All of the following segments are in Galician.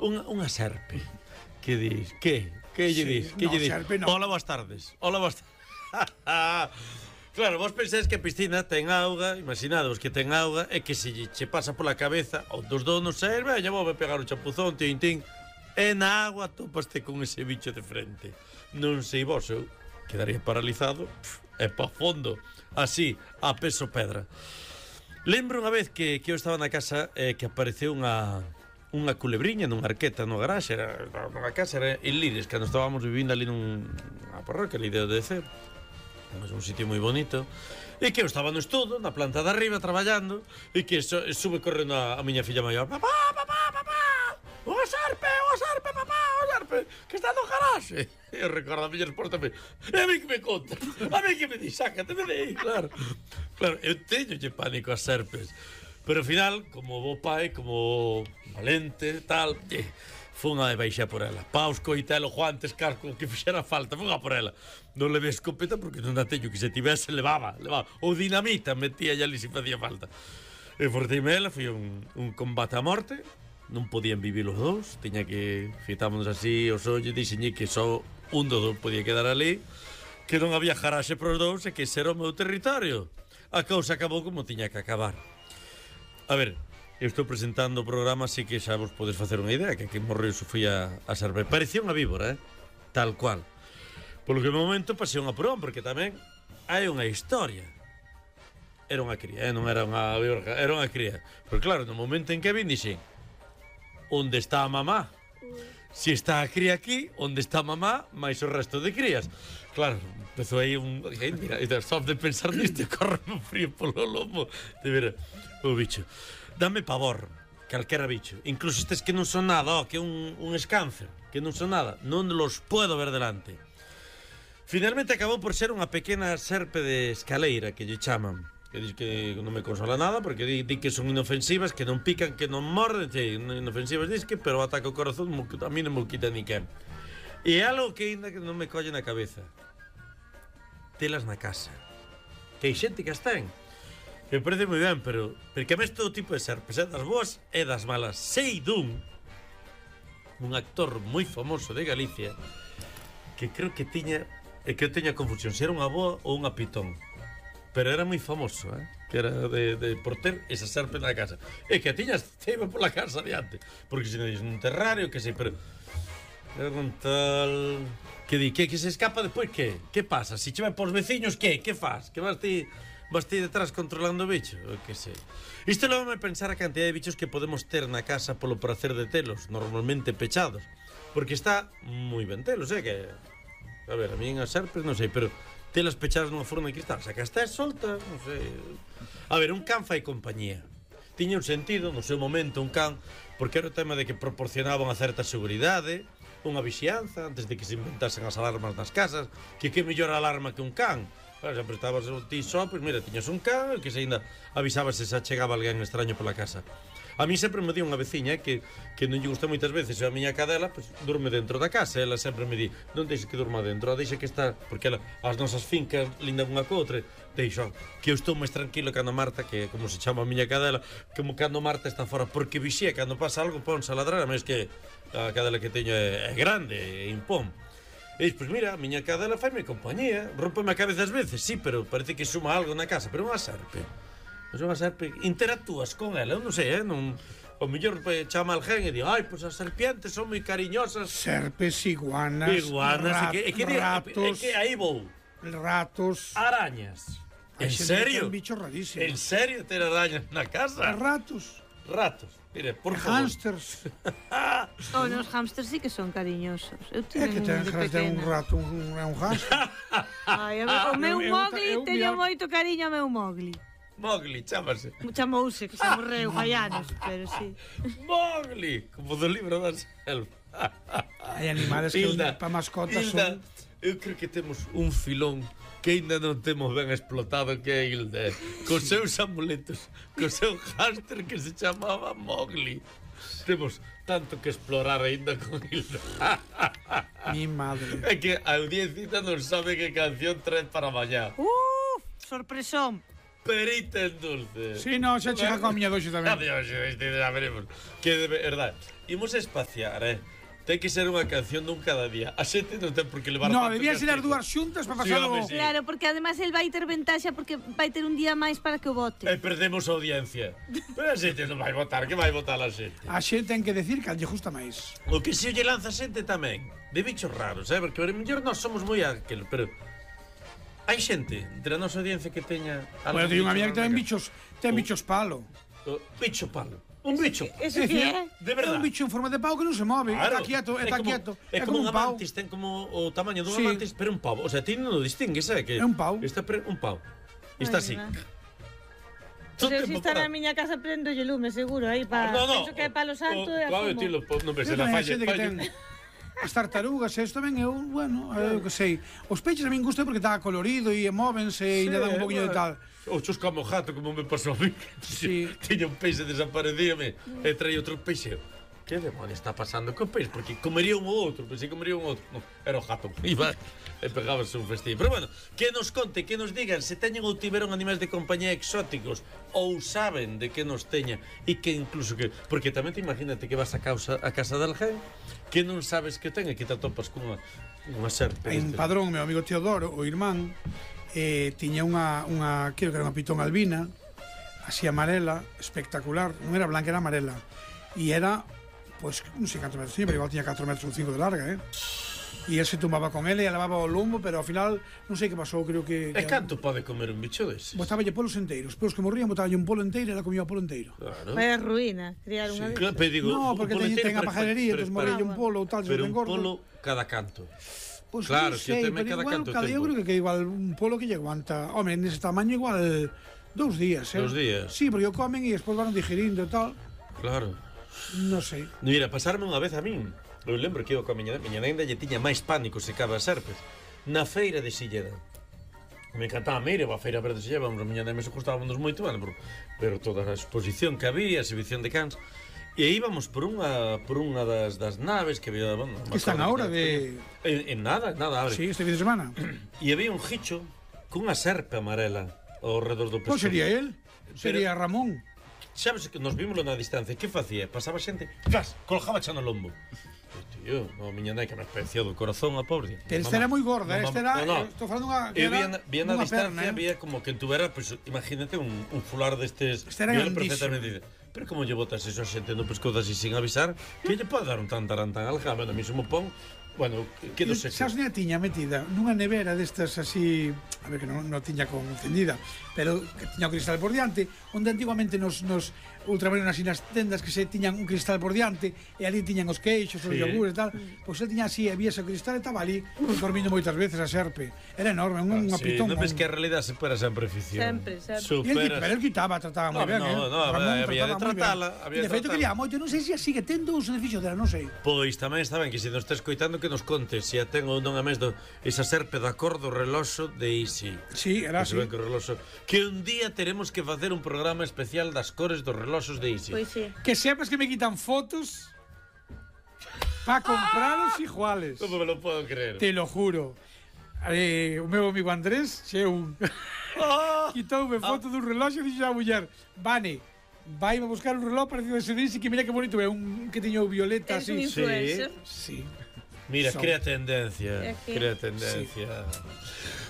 Unha serpe. Que dis? Que lle dis? Que lle dis? Hola, boas tardes. Hola, boas tardes. Claro, vos pensáis que a piscina ten auga, imaginadvos que ten auga, e que se che pasa pola cabeza, ou dos donos ser, veña, vou pegar o chapuzón, tin, e na agua topaste con ese bicho de frente. Non sei vos, eu quedaría paralizado, e pa fondo, así, a peso pedra. Lembro unha vez que eu estaba na casa que apareceu unha culebriña nunha arqueta no garaxe, nunha casa, era en Lires, cando estábamos vivindo ali nunha parroquia, ali de Odecer. É un sitio moi bonito. E que eu estaba no estudo, na planta de arriba, traballando, e que sube correndo a miña filla maior. Papá! Unha serpe, papá! Unha serpe, que está no garaxe. E eu recordo a miña resposta, e a mí que me conta, a mí que me di, sácate de aí, claro. Claro, eu teñolle pánico ás serpes, pero ao final, como bo pai, como valente, tal, fun a baixar por ela. Paus, coitelo, guantes, casco, que fixera falta, fun a por ela. Non levei escopeta porque non a teño, que se tivese levaba. Ou dinamita, metía ali se facía falta. E forteime ela, foi un combate a morte. Non podían vivir os dous, tiña que fitámonos así os ollos, dixenlle que só un dos dous podía quedar ali, que non había jaraxe para os dous e que ese era o meu territorio. A cousa acabou como tiña que acabar. A ver, eu estou presentando o programa, así que xa vos podes facer unha idea, que aquí morreu Sofía a serpe. Parecía unha víbora, tal cual. Polo que no momento pasei un apurón, porque tamén hai unha historia. Era unha cría, non era unha víbora, era unha cría. Pero claro, no momento en que vin, dixen, onde está a mamá? Si está a cría aquí, onde está a mamá, máis o resto de crías. Claro, empezou aí un... Mira, só de pensar nisto, corre un frío polo lomo. De ver, o bicho. Dame pavor, calquera bicho. Incluso estes que non son nada, que é un escáncer, que non son nada. Non los puedo ver delante. Finalmente acabou por ser unha pequena serpe de escaleira, que lle chaman. Que dis que non me consola nada, porque di que son inofensivas, que non pican, que non morden, inofensivas disque, pero ataca o corazón, a mí non me quita ni quen. E é algo que ainda que non me colle na cabeza. Telas na casa. Que hai xente que as ten. Me parece moi ben, pero porque a mes todo tipo de serpes, das boas e das malas. Sei un actor moi famoso de Galicia que creo que tiña, que eu teña confusión se era unha boa ou unha pitón, pero era moi famoso, que era por ter esa serpe na casa, e que a tiñas ceiba pola casa adiante, porque se non dices nun terrario, que sei, pero era un tal que di que se escapa despois, que pasa? Se che vai pos veciños, que faz? Que vas ti detrás controlando o bicho? Que sei. Isto leva a pensar a cantidad de bichos que podemos ter na casa polo prazer de telos, normalmente pechados, porque está moi ben telos, que... A ver, a mí as serpes, non sei, pero telas pechadas nunha forma de cristal, xa que está solta, non sei. A ver, un can fai compañía. Tiña un sentido, no seu momento, un can, porque era o tema de que proporcionaba unha certa seguridade, unha vixianza, antes de que se inventasen as alarmas nas casas, que mellor alarma que un can. Claro, sempre estabas ti só, pois mira, tiñas un can, que se ainda avisaba se xa chegaba alguén extraño pola casa. A mí sempre me di unha veciña que non lle gusta moitas veces, a miña cadela, pois durme dentro da casa, ela sempre me di, non deixe que durma dentro, deixe que está, porque ela, as nosas fincas lindan unha co outra, deixo, que eu estou máis tranquilo cando Marta, que como se chama a miña cadela, como cando Marta está fora, porque vixía, cando pasa algo, ponse a ladrar, a máis que a cadela que teño é grande, e impón. E pois mira, a miña cadela faime compañía, rómpeme a cabeza ás veces, sí, pero parece que suma algo na casa, pero unha serpe. Mas unha serpe, interactúas con ela, eu non sei, non... O mellor chama alguén e di, pois as serpientes son moi cariñosas. Serpes, iguanas, ratos... É que aí vou. Ratos... Arañas. En serio? Un bicho rarísimo. En serio ter arañas na casa? Ratos. Ratos. Mire, por favor. Hamsters. Os hamsters sí que son cariñosos. Eu tive que ten un rato, un hamster. O meu Mowgli teño moito cariño ao meu Mowgli. Mowgli, chámase. Chamouse, que se morreu hai anos, pero sí. Mowgli, como do libro da selva. Hai animales que para mascotas son... Eu creo que temos un filón que ainda non temos ben explotado, que é Hilda, cos seus amuletos, cos seu hámster que se chamaba Mowgli. Temos tanto que explorar ainda con Hilda. Mi madre. É que a audiencia non sabe que canción trae para mañá. Sorpresón. perita en dulce. Si, no, xa chega coa miña doxe tamén. Adiós, xa veremos. Que de verdade. Imos espaciar, Ten que ser unha canción dun cada día. A xente non ten por que levar No, tanto debían ser as castigo. dúas xuntas para Sí, pasalo... home, sí. Claro, porque además el vai ter ventaxa porque vai ter un día máis para que o vote. E perdemos a audiencia. Pero a xente non vai votar, que vai votar a xente? A xente ten que decir que lle justa máis. O que se lle lanza a xente tamén, de bichos raros, porque a mellor nós somos moi aquel, pero hai xente entre a nosa audiencia que teña Bueno, teño unha amiga que ten raro bichos palo. bicho palo. Un bicho. Eso que é? De É verdade. un bicho en forma de pau que non se move. Claro. Está quieto, está quieto. É como un amantis, ten como o tamaño dun Sí. amantis, pero un pavo. O sea, ti non o distingues, que É un pau. Está un pau. E está así. Todo Se tempo está na parado. miña casa prendo lle lume, seguro, aí para... Penso que é palo santo e Claro, asumo. ti non ves Pero na hai falla. xente que ten as tartarugas, isto tamén é un, bueno, eu que sei. Os peixes a min gusta porque está colorido e móvense e lle dan un poquinho de tal. O chusca mo gato, como me pasou a mí. Sí. Tiña un peixe desaparecíame e traía outro peixe. Que demonio está pasando co peixe? Porque comería un ou outro, pensei que comería un outro. Non, era o gato. Iba e pegábase un festín. Pero bueno, que nos conte, que nos digan se teñen ou tiveron animais de compañía exóticos ou saben de que nos teña e que incluso que... Porque tamén te imagínate que vas a casa de alguén que non sabes que ten e que te atopas cunha serpe. En Padrón, meu amigo Teodoro, o irmán, tiña unha creo que era unha pitón albina, así amarela, espectacular. Non era blanca, era amarela. E era, pois, non sei cantos metros tiña, pero igual tiña 4 metros ou 5 de larga, E él se tumbaba con ele e levaba o lombo, pero ao final, non sei que pasou, creo que... E canto pode comer un bicho dese? Botáballe polos enteiros. Polos que morrían, botáballe un polo enteiro e ela comía o polo enteiro. Claro. Vaya ruína, criar unha... Claro, pero digo, No, porque un polo ten entero, a pajarería, entón morrelle un polo ou tal, se pero ten un gordo. polo cada canto. Pois Claro, non que sei, tamén pero cada igual, canto eu creo que igual un polo que lle aguanta. Home, nese tamaño igual 2 días, 2 días. Sí, porque o comen e despois van digerindo e tal. Claro. Non sei. Mira, pasarme unha vez a min. Eu lembro que iba coa miña nenda lle tiña máis pánico se caba as serpes. Na feira de Silleda. Me encantaba ir a feira verde de Silleda, vamos, a miña nena se gustábamos moito, pero toda a exposición que había, a exhibición de cans. E íbamos por unha das naves que había... Bueno, Que están agora de... En nada, abre. Sí, este fin de semana. E había un gicho cunha serpe amarela ao redor do pescozo. Pois sería él. Sería Ramón. Sabes que nos vímoslo na distancia, que facía? Pasaba xente, ¡flas!, colgaba xa no lombo. Tío, a miña nai que me especiou do corazón a pobre. Pero esta era moi gorda, esta era... No. Estou falando unha... Eu vi na distancia, perna, había como que tuvera, pues, imagínate, un fular destes... Esta era Viola grandísima. perfectamente. Pero como lle botas eso a xente no pescozo así sin avisar, que lle pode dar un tan alga, bueno, a mí se me pon... Bueno, que do seco. Sabes, a tiña metida nunha nevera destas así, a ver que non tiña con encendida, pero que tiña o cristal por diante, onde antiguamente nos ultramarinos así nas tendas que se tiñan un cristal por diante e ali tiñan os queixos, os yogures e tal, pois ele tiña así, había ese cristal e estaba ali dormindo moitas veces a serpe. Era enorme, unha pitón. Non ves que a realidade supera sempre a ficción. Sempre. Superas. Pero el quitaba, trataba moi ben, Ramón había de trataba tratala. moi ben. De feito quería moito, non sei se sigue tendo ou se desfixo dela, non sei. Pois tamén está ben que se nos está escoitando que nos conte se a ten ou non a mes esa serpe da cor do reloxo de Isi. Sí, era así. Que un día teremos que facer un programa especial das cores dos reloxos de Isi. Pois sí. Que sepas que me quitan fotos para comprarlos iguales. Non me lo puedo creer. Te lo juro. O meu amigo Andrés, quitoume foto dun reloxo e dixo a muller, Vane, vai a buscar un reloj parecido a ese de Isi, que mira que bonito é, un que tiño violeta Es así. un influencer. Sí. Mira, crea tendencia. Crea tendencia.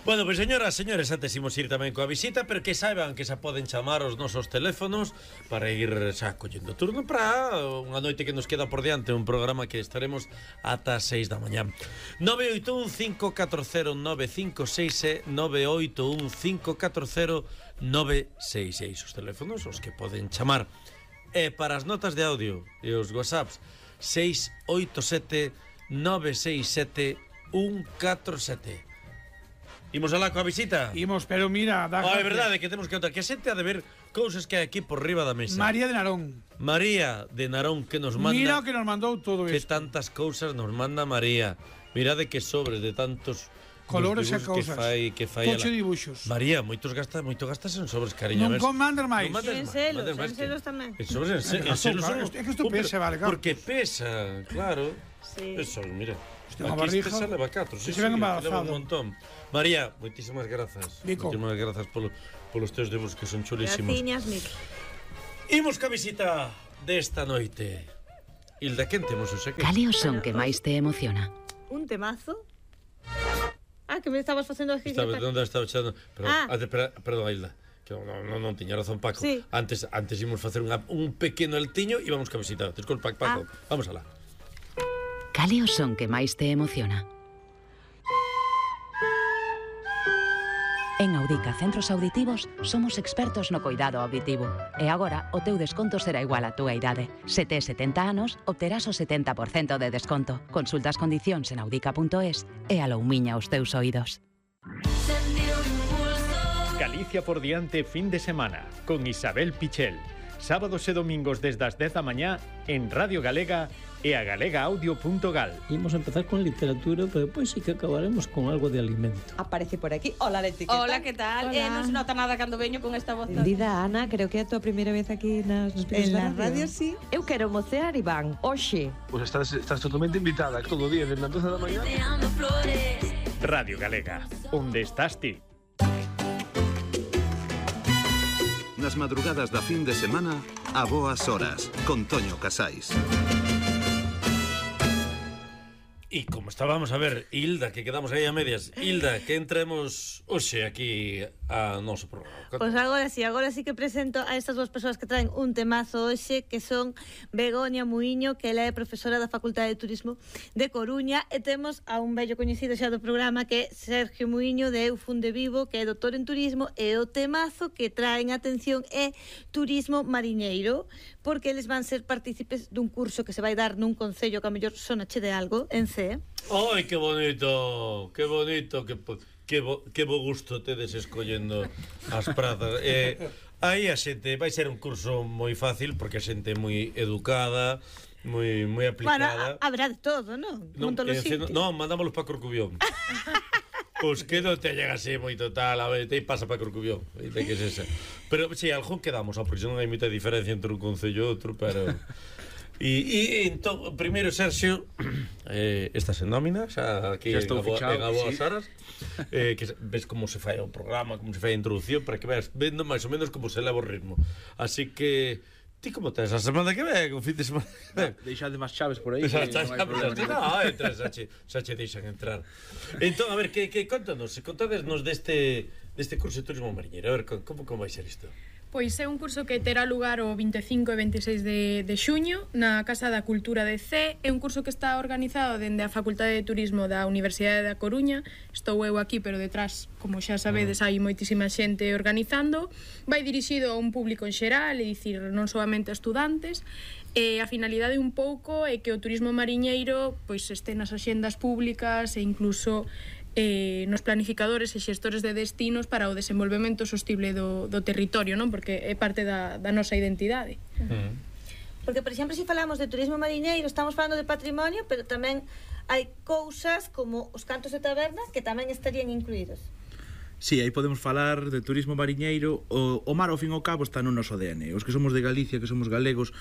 Bueno, pois señoras, señores, antes imos ir tamén coa visita, pero que saiban que xa poden chamar os nosos teléfonos para ir xa collendo turno para unha noite que nos queda por diante, un programa que estaremos ata 6 da mañá. 981-540-956 e 981-540-966 os teléfonos os que poden chamar. E para as notas de audio e os whatsapps 687 967 147. Imos alá coa visita? Imos, pero mira, é verdade que temos que contar que a xente ha de ver cousas que hai aquí por riba da mesa. María de Narón. María de Narón que nos manda. Mira o que nos mandou todo que isto. tantas cousas nos manda María. Mirade que sobres de tantos colores e cousas. Que fai Tocho dibuixos. María, moito gastas en sobres, cariño. Non mandas máis. En celos tamén. En sobres, en celos. É que isto pesa, vale, claro. Porque pesa, claro. Sí. Eso, mira. Aquí este se leva 4, sí, leva un montón. María, moitísimas grazas. Moitísimas grazas polos teus dibujos que son chulísimos. Graciñas, Mico. Imos ca visita desta noite. Hilda, quen temos hoxe aquí? Cal é o son que máis te emociona? Un temazo. Que me estabas facendo aquí. Onde estaba echando? Perdón, Hilda. Non tiña razón, Paco. Sí. Antes imos facer un pequeno altiño e vamos ca visita. Desculpa, Paco. Vamos alá. Cal é o son que máis te emociona? En Audica Centros Auditivos somos expertos no coidado auditivo. E agora o teu desconto será igual á túa idade. Se tes 70 anos, obterás o 70% de desconto. Consulta as condicións en audica.es e aloumiña os teus oídos. Galicia por diante fin de semana con Isabel Pichel. Sábados e domingos desde as 10 da mañá en Radio Galega e a galegaaudio.gal. Imos empezar con literatura, pero depois sí que acabaremos con algo de alimento. Aparece por aquí. Hola, Leti, que Hola, que tal? Non se nota nada cando veño con esta voz. Dida, Ana, creo que é a tua primeira vez aquí nas En la radio, sí. Eu quero mocear, Iván, hoxe. Pues estás totalmente invitada todo o día, desde las 12 da mañá. Radio Galega, onde estás ti? Nas madrugadas da fin de semana, a boas horas, con Toño Casais. E como estábamos a ver, Hilda, que quedamos aí a medias. Hilda, que entremos hoxe aquí a noso programa. Pois agora sí que presento a estas dúas persoas que traen un temazo hoxe, que son Begoña Muiño, que ela é profesora da Facultade de Turismo de Coruña, e temos a un vello coñecido xa do programa, que é Sergio Muiño, de Eu Funde Vivo, que é doutor en turismo, e o temazo que traen atención é Turismo Mariñeiro, porque eles van ser partícipes dun curso que se vai dar nun concello que a mellor sonache de algo, en C. Ai, que bonito, que bonito, que bo gusto tedes escollendo as prazas. Aí a xente vai ser un curso moi fácil, porque a xente é moi educada, moi aplicada. Bueno, habrá de todo, non? Non, mandámolos para Corcubión. Pois que non te llega así moito tal, a ver, te pasa para Corcubión, que é esa. Pero, si, algún quedamos, porque non hai moita diferencia entre un concello e outro, pero... E entón, primeiro, Sergio, estás en nómina, xa aquí en a boas horas, que ves como se fai o programa, como se fai a introducción, para que veas vendo máis ou menos como se leva o ritmo. Así que, ti como tes a semana que ven, o fin de semana que ven? Deixade máis chaves por aí. Non, entras, xa che deixan entrar. Entón, a ver, que contanos, contadesnos deste curso de turismo mariñeiro, a ver, como vai ser isto? Pois é un curso que terá lugar o 25 e 26 de xuño na Casa da Cultura de C. É un curso que está organizado dende a Facultade de Turismo da Universidade da Coruña. Estou eu aquí, pero detrás, como xa sabedes, hai moitísima xente organizando. Vai dirixido a un público en xeral, é dicir, non solamente a estudantes. E a finalidade un pouco é que o turismo mariñeiro pois este nas axendas públicas e incluso nos planificadores e xestores de destinos para o desenvolvemento sostible do territorio, non? Porque é parte da nosa identidade. Porque, por exemplo, se falamos de turismo mariñeiro, estamos falando de patrimonio, pero tamén hai cousas como os cantos de taberna que tamén estarían incluídos. Sí, aí podemos falar de turismo mariñeiro. O mar, ao fin e ao cabo, está no noso ADN. Os que somos de Galicia, que somos galegos,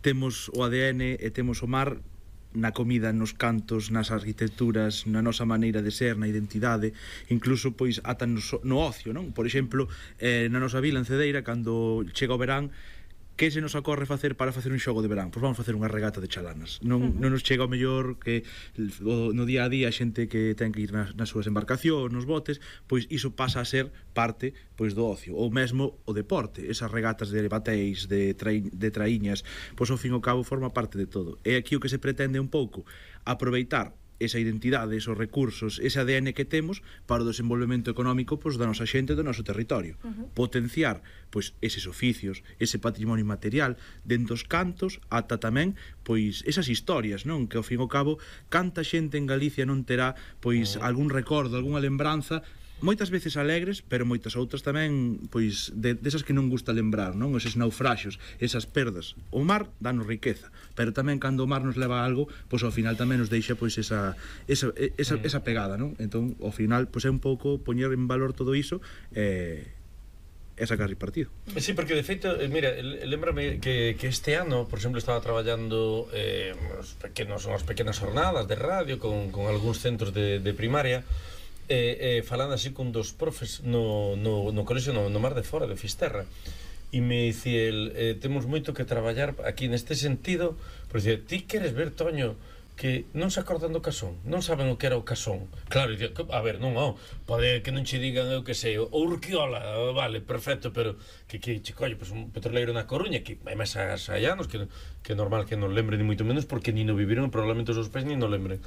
temos o ADN e temos o mar na comida, nos cantos, nas arquitecturas, na nosa maneira de ser, na identidade, incluso pois ata no ocio, non? Por exemplo, na nosa vila en Cedeira, cando chega o verán, que se nos ocorre facer para facer un xogo de verán? Pois vamos facer unha regata de chalanas. Non nos chega o mellor que no día a día a xente que ten que ir nas súas embarcacións, nos botes, pois iso pasa a ser parte pois do ocio, ou mesmo o deporte, esas regatas de bateis, de traíñas, pois ao fin e ao cabo forma parte de todo. E aquí o que se pretende un pouco aproveitar esa identidade, esos recursos, ese ADN que temos para o desenvolvemento económico pois da nosa xente, do noso territorio. Potenciar pois eses oficios, ese patrimonio material dentro dos cantos, ata tamén pois esas historias, non? Que ao fin e ao cabo canta xente en Galicia non terá pois algún recordo, algunha lembranza, moitas veces alegres, pero moitas outras tamén pois desas que non gusta lembrar, non? Eses naufraxios, esas perdas. O mar danos riqueza, pero tamén cando o mar nos leva a algo, pois ao final tamén nos deixa pois esa pegada, non? Entón, ao final, pois é un pouco poñer en valor todo iso e sacar partido. Sí, porque de feito, mira, lembrame que este ano, por exemplo, estaba traballando as pequenas jornadas de radio con algúns centros de primaria, falando así con dos profes no colexio no Mar de Fora de Fisterra, e me dicía temos moito que traballar aquí neste sentido, por dicir, ti queres ver, Toño, que non se acordan do casón, non saben o que era o casón. Claro, a ver, non, pode que non che digan eu que sei, o Urquiola, vale, perfecto, pero que colle, pues un petroleiro na Coruña, que hai máis anos, que é normal que non lembren ni moito menos, porque ni no viviron, probablemente os seus pais ni no lembren.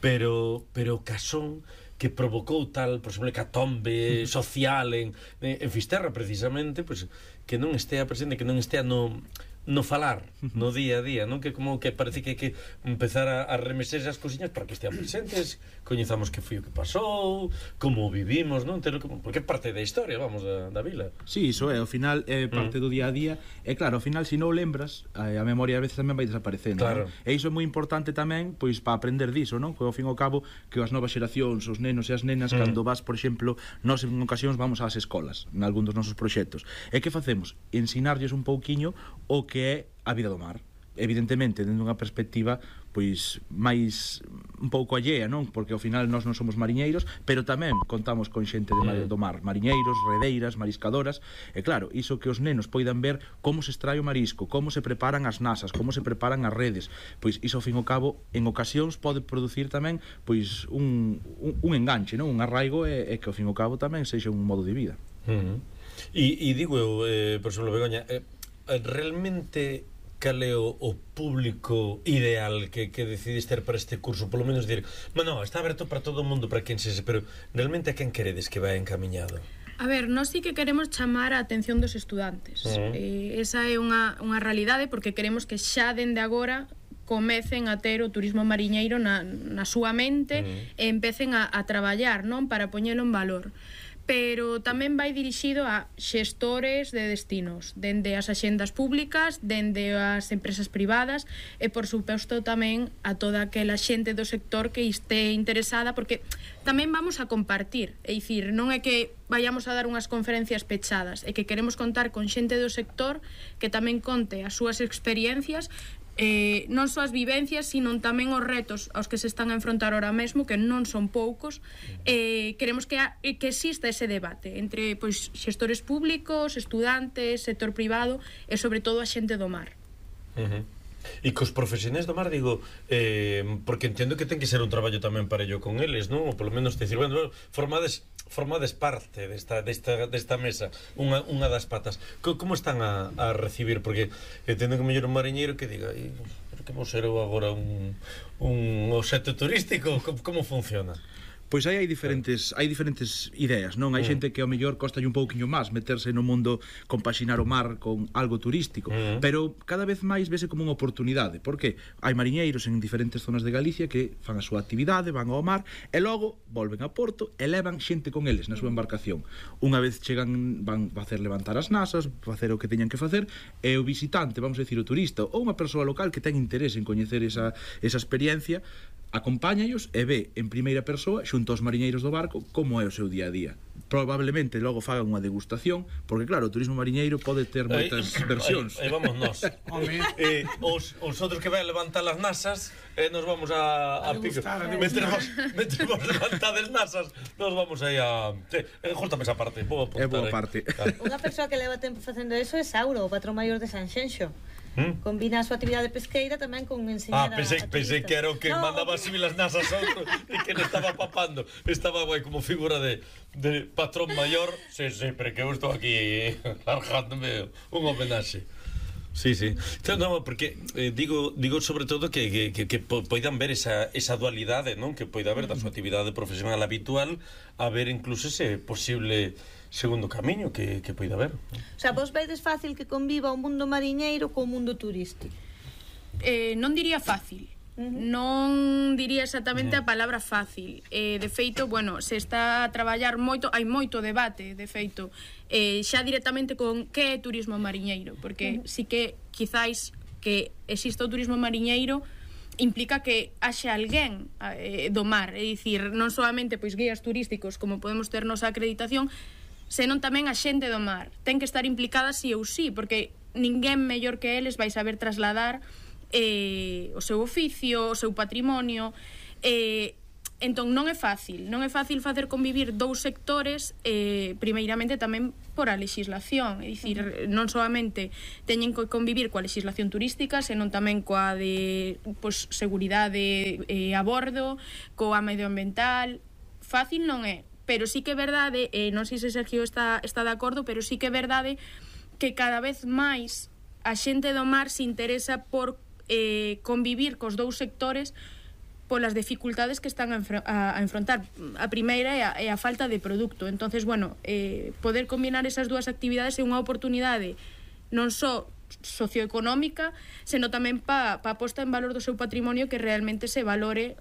Pero o casón que provocou tal, por exemplo, hecatombe social en Fisterra, precisamente, pues, que non estea presente, que non estea no falar, no día a día, non? Que como que parece que hai que empezar a remexer as cousiñas para que estean presentes, coñezamos que foi o que pasou, como vivimos, non? Porque é parte da historia, vamos, da vila. Sí, iso é, ao final é parte do día a día, e claro, ao final, se non o lembras, a memoria a veces tamén vai desaparecendo, claro. E iso é moi importante tamén, pois, para aprender diso, non? Que ao fin e ao cabo, que as novas xeracións, os nenos e as nenas, cando vas, por exemplo, nós en ocasións vamos ás escolas, en algún dos nosos proxectos, e que facemos? Ensinarlles un pouquiño o que é a vida do mar, evidentemente dende unha perspectiva pois máis un pouco allea, non? Porque ao final nós non somos mariñeiros, pero tamén contamos con xente do mar, mariñeiros, redeiras, mariscadoras, e claro, iso que os nenos poidan ver como se extrae o marisco, como se preparan as nasas, como se preparan as redes, pois iso ao fin e ao cabo en ocasións pode producir tamén pois un enganche, non? Un arraigo e que ao fin e ao cabo tamén sexa un modo de vida. E digo eu, por exemplo, Begoña, realmente cal é o público ideal que decidiste ter para este curso? Polo menos dir, bueno, está aberto para todo o mundo, para quen sexa, pero realmente a quen queredes que vai encamiñado? A ver, nós sí que queremos chamar a atención dos estudantes. Esa é unha realidade, porque queremos que xa dende agora comecen a ter o turismo mariñeiro na súa mente e empecen a traballar, non? Para poñelo en valor. Pero tamén vai dirixido a xestores de destinos, dende as axendas públicas, dende as empresas privadas e, por suposto, tamén a toda aquela xente do sector que este interesada, porque tamén vamos a compartir, é dicir, non é que vayamos a dar unhas conferencias pechadas, é que queremos contar con xente do sector que tamén conte as súas experiencias, non só as vivencias, sino tamén os retos aos que se están a enfrontar ahora mesmo, que non son poucos. Queremos que exista ese debate entre pois xestores públicos, estudantes, sector privado e sobre todo a xente do mar. E cos profesionais do mar, digo, porque entendo que ten que ser un traballo tamén para ello con eles, non? Ou polo menos decir, bueno, formades parte desta mesa, unha das patas. Como están a recibir? Porque entendo que mellor un mariñeiro que diga, pero que vou ser eu agora un obxecto turístico? Como funciona? Pois aí hai diferentes ideas, non? Hai xente que ao mellor costalle un pouquiño máis meterse no mundo, compaxinar o mar con algo turístico, pero cada vez máis vese como unha oportunidade, porque hai mariñeiros en diferentes zonas de Galicia que fan a súa actividade, van ao mar e logo volven a Porto e levan xente con eles na súa embarcación. Unha vez chegan, van a facer levantar as nasas, facer o que teñan que facer, e o visitante, vamos a decir o turista, ou unha persoa local que ten interese en coñecer esa experiencia, acompáñaos e ve en primeira persoa xunto aos mariñeiros do barco como é o seu día a día. Probablemente logo fagan unha degustación, porque claro, o turismo mariñeiro pode ter moitas versións. Aí vamos nós. Os outros que vai levantar as nasas, nos vamos a pico. Metemos levantadas nasas, nos vamos aí a... Jústame esa parte. É boa parte. Unha persoa que leva tempo facendo eso é Sauro, o patrón maior de Sanxenxo. Combina a súa actividade pesqueira tamén con enseñar pensei que era o que mandaba así las nasas a outro e que non estaba papando, estaba guai como figura de patrón maior. Sí, pero que eu estou aquí largándome un homenaxe. Sí. No, porque digo sobre todo que poidan ver esa dualidade, non? Que poida haber da súa actividade profesional habitual a ver incluso ese posible segundo camiño que poida haber. O sea, vos vedes fácil que conviva o mundo mariñeiro co mundo turístico? Non diría fácil. Non diría exactamente a palabra fácil. De feito, bueno, se está a traballar moito, hai moito debate, de feito, xa directamente con que é turismo mariñeiro, porque sí que quizáis que exista o turismo mariñeiro implica que haxe alguén do mar, é dicir, non solamente pois guías turísticos como podemos ter nosa acreditación, senón tamén a xente do mar. Ten que estar implicada sí ou sí, porque ninguén mellor que eles vai saber trasladar o seu oficio, o seu patrimonio. Entón non é fácil facer convivir dous sectores, primeiramente tamén por a legislación, é dicir, non solamente teñen que convivir coa legislación turística, senón tamén coa de seguridade a bordo, coa medioambiental. Fácil non é, pero sí que é verdade, non sei se Sergio está de acordo, pero sí que é verdade que cada vez máis a xente do mar se interesa por convivir cos dous sectores polas dificultades que están a enfrontar. A primeira é a falta de produto. Entonces, bueno, poder combinar esas dúas actividades é unha oportunidade non só socioeconómica, senón tamén pa a posta en valor do seu patrimonio, que realmente se valore